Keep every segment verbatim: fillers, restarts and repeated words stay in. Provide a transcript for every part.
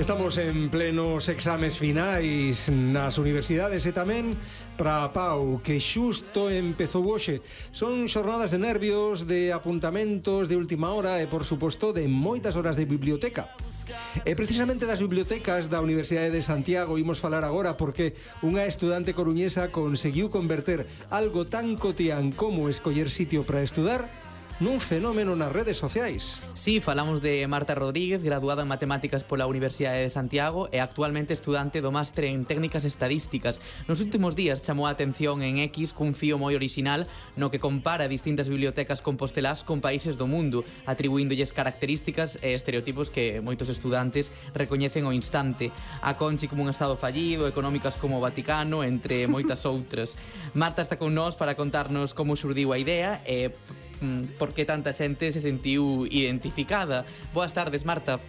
Estamos en plenos exames finais nas universidades e tamén para a Pau, que xusto empezou hoxe. Son xornadas de nervios, de apuntamentos de última hora e, por suposto, de moitas horas de biblioteca. E precisamente das bibliotecas da Universidade de Santiago imos falar agora, porque unha estudante coruñesa conseguiu converter algo tan cotián como escoller sitio para estudar nun fenómeno nas redes sociais. Sí, falamos de Marta Rodríguez, graduada en Matemáticas pola Universidade de Santiago e actualmente estudante do máster en Técnicas Estadísticas. Nos últimos días chamou a atención en X cun fío moi orixinal no que compara distintas bibliotecas compostelás con países do mundo, atribuíndolles características e estereotipos que moitos estudantes recoñecen ao instante. A Conchi como un estado fallido, económicas como o Vaticano, entre moitas outras. Marta está con nós para contarnos como xurdiu a idea e por que tanta xente se sentiu identificada. Boas tardes, Marta.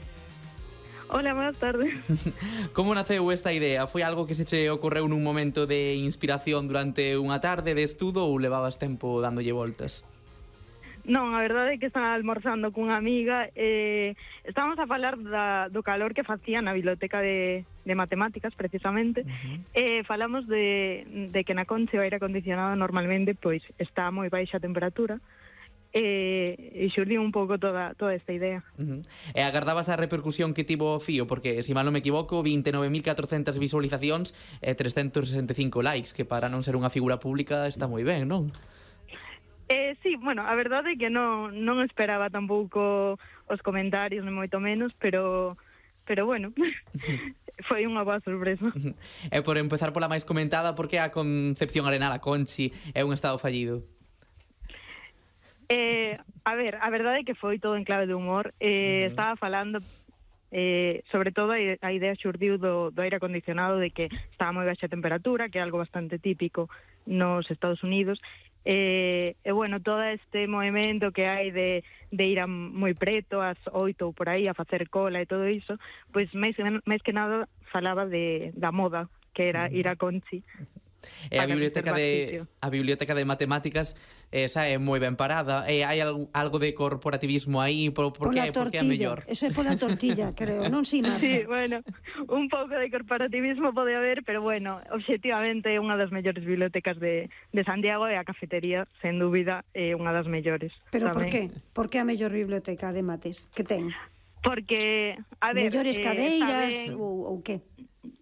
Hola, buenas tardes. Como naceu esta idea? Foi algo que se che ocorreu nun momento de inspiración durante unha tarde de estudo ou levabas tempo dándolle voltas? Non, a verdade é que estaba almorzando cunha amiga e estábamos a falar da, do calor que facía na biblioteca de, de matemáticas, precisamente, uh-huh. e falamos de, de que na Conchi o aire acondicionado normalmente pois está a moi baixa temperatura, e, e xurdiu un pouco toda, toda esta idea. Uh-huh. E agardabas a repercusión que tivo o fío? Porque, se mal non me equivoco, vinte e nove mil catrocentas visualizacións e trescentos sesenta e cinco likes, que para non ser unha figura pública está moi ben, non? Eh, sí, bueno, a verdade é que non, non esperaba tampouco os comentarios, nem moito menos, pero, pero bueno, foi unha boa sorpresa. E por empezar pola máis comentada, por que a Concepción Arenal, a Conchi, é un estado fallido? Eh, a ver, a verdade é que foi todo en clave de humor. Eh, uh-huh. Estaba falando, eh, sobre todo, a idea xurdiu do, do aire acondicionado, de que estaba moi baixa temperatura, que é algo bastante típico nos Estados Unidos. E, e bueno, todo este movimento que hai de, de ir a moi preto, ás oito ou por aí, a facer cola e todo iso, pois máis, máis que nada falaba de, da moda, que era ir a Conchi. E a biblioteca de a biblioteca de matemáticas esa é moi ben parada. E hai algo, algo de corporativismo aí, por, por que, por que é mellor? Eso é pola tortilla, creo, non si, Marta? Sí, bueno, un pouco de corporativismo pode haber, pero bueno, obxectivamente é unha das mellores bibliotecas de, de Santiago e a cafetería, sen dúbida, é unha das mellores. Pero tamén. Por que? Por que a mellor biblioteca de mates? Que ten? Porque, a ver... Mellores eh, cadeiras saben... ou, ou que?